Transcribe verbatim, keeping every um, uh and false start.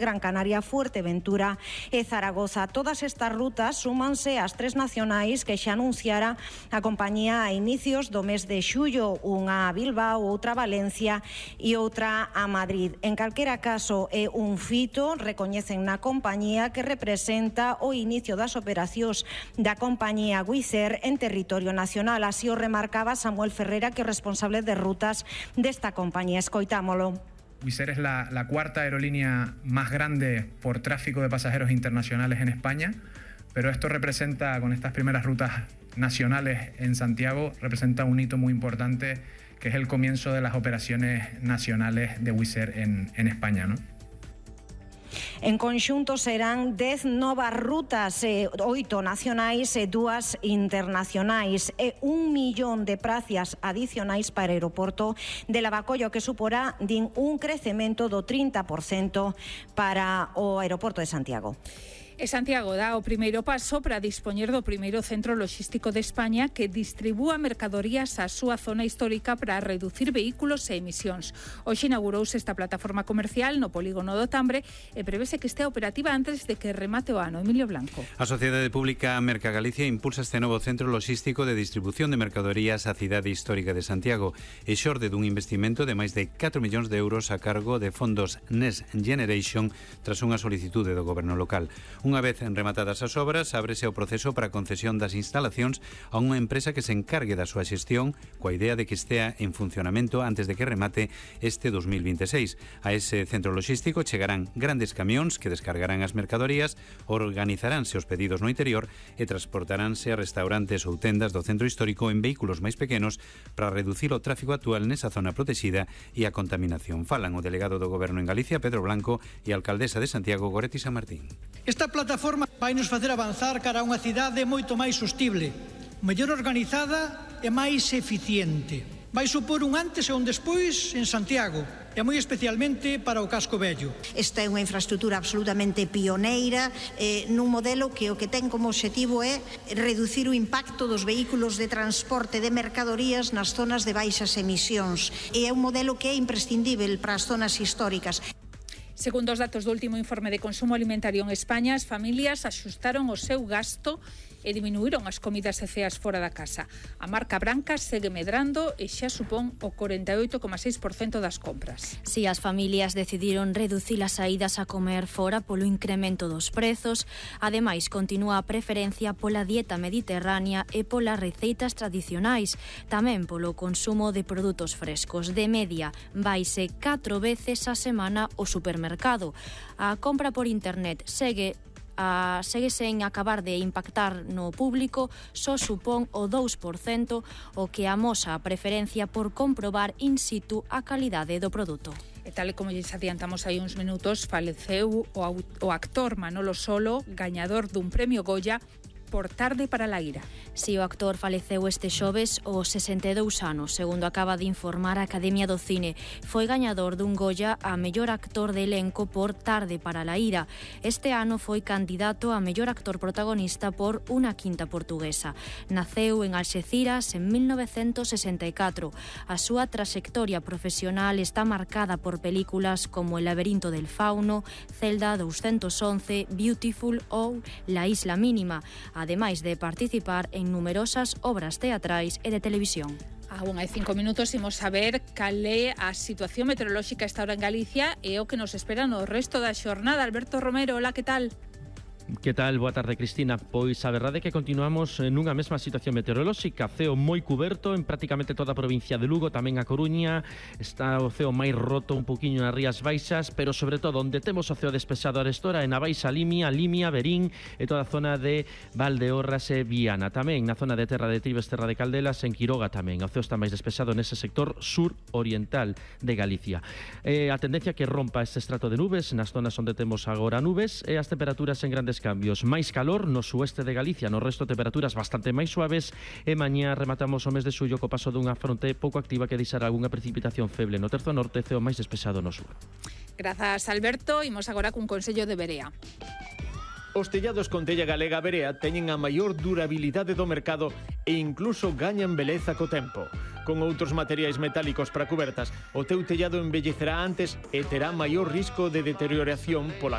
Gran Canaria, Fuerteventura e Zaragoza. Todas estas rutas súmanse ás tres nacionais que xa anunciara a compañía a inicios do mes de xullo, unha a Bilbao, outra a Valencia e outra a Madrid. En calquera caso, é un fito, recoñecen na compañía, que representa o inicio das operacións da compañía Wizz Air en territorio nacional. Así o remarcaba Samuel Ferreira, que é responsable de rutas desta compañía. Escoitámolo. Wizz Air es la, la cuarta aerolínea más grande por tráfico de pasajeros internacionales en España, pero esto representa, con estas primeras rutas nacionales en Santiago, representa un hito muy importante, que es el comienzo de las operaciones nacionales de Wizz Air en, en España, ¿no? En conxunto serán dez novas rutas, eh, oito nacionais e dúas internacionais, e un millón de prazas adicionais para o aeroporto de Lavacollo, que suporá, din, un crecemento do trinta por cento para o aeroporto de Santiago. E Santiago dá o primeiro paso para dispoñer do primeiro centro loxístico de España que distribúa mercadorías á súa zona histórica para reducir vehículos e emisións. Hoxe inaugurouse esta plataforma comercial no polígono do Tambre e prevese que estea operativa antes de que remate o ano. Emilio Blanco. A Sociedade Pública Merca Galicia impulsa este novo centro loxístico de distribución de mercadorías á cidade histórica de Santiago e xorde dun investimento de máis de catro millóns de euros a cargo de fondos Next Generation tras unha solicitude do goberno local. Unha vez rematadas as obras, ábrese o proceso para a concesión das instalacións a unha empresa que se encargue da súa xestión, coa idea de que estea en funcionamento antes de que remate este dos mil veintiséis. A ese centro loxístico chegarán grandes camións que descargarán as mercadorías, organizaránse os pedidos no interior e transportaránse a restaurantes ou tendas do centro histórico en vehículos máis pequenos para reducir o tráfico actual nesa zona protexida e a contaminación. Falan o delegado do Goberno en Galicia, Pedro Blanco, e a alcaldesa de Santiago, Goretti San Martín. Esta plataforma vai nos facer avanzar cara a unha cidade moito máis sostible, mellor organizada e máis eficiente. Vai supor un antes e un despois en Santiago, e moi especialmente para o casco vello. Esta é unha infraestrutura absolutamente pioneira eh, nun modelo que o que ten como obxectivo é reducir o impacto dos vehículos de transporte de mercadorías nas zonas de baixas emisións. E é un modelo que é imprescindível para as zonas históricas. Segundo os datos do último informe de consumo alimentario en España, as familias axustaron o seu gasto e diminuíron as comidas e ceas fora da casa. A marca branca segue medrando e xa supón o corenta e oito coma seis por cento das compras. Si as familias decidiron reducir as saídas a comer fora polo incremento dos prezos, ademais continúa a preferencia pola dieta mediterránea e polas receitas tradicionais, tamén polo consumo de produtos frescos. De media, vaise catro veces a semana ao supermercado. A compra por internet segue Uh, segue sen acabar de impactar no público, só supón o dous por cento, o que amosa a preferencia por comprobar in situ a calidade do produto. E tal e como lles adiantamos hai uns minutos, faleceu o, o actor Manolo Solo, gañador dun premio Goya por Tarde para la ira. Si, o actor faleceu este xoves aos sesenta e dous anos, segundo acaba de informar a Academia do Cine. Foi gañador dun Goya a mellor actor de elenco por Tarde para la ira. Este ano foi candidato a mellor actor protagonista por Unha quinta portuguesa. Naceu en Alxeciras en mil novecentos sesenta e catro. A súa traxectoria profesional está marcada por películas como El laberinto del fauno, Celda doscientos once, Beautiful ou La isla mínima, ademais de participar en numerosas obras teatrais e de televisión. Aún hai cinco minutos imos saber cal é a situación meteorolóxica esta hora en Galicia e o que nos espera no resto da xornada. Alberto Romero, hola, que tal? Que tal? Boa tarde, Cristina. Pois a verdade é que continuamos nunha mesma situación meteorolóxica, ceo moi cuberto en prácticamente toda a provincia de Lugo, tamén a Coruña, está o ceo máis roto un poquinho nas Rías Baixas, pero sobre todo onde temos o ceo despexado a restora é na Baixa Limia, Limia, Verín e toda a zona de Valdeorras e Viana. Tamén na zona de Terra de Tribes, Terra de Caldelas, en Quiroga tamén. O ceo está máis despexado nese sector sur oriental de Galicia. Eh, a tendencia que rompa este estrato de nubes nas zonas onde temos agora nubes e as temperaturas en grandes cambios. Máis calor no sueste de Galicia, no resto temperaturas bastante máis suaves e mañá rematamos o mes de xullo co paso dunha fronte pouco activa que deixará algunha precipitación feble no terzo norte, ceo máis despexado no sur. Grazas, Alberto. Imos agora cun consello de Berea. Os tellados con tella galega Berea teñen a maior durabilidade do mercado e incluso gañan beleza co tempo. con outros materiais metálicos para cubertas, o teu tellado envellecerá antes e terá maior risco de deterioración pola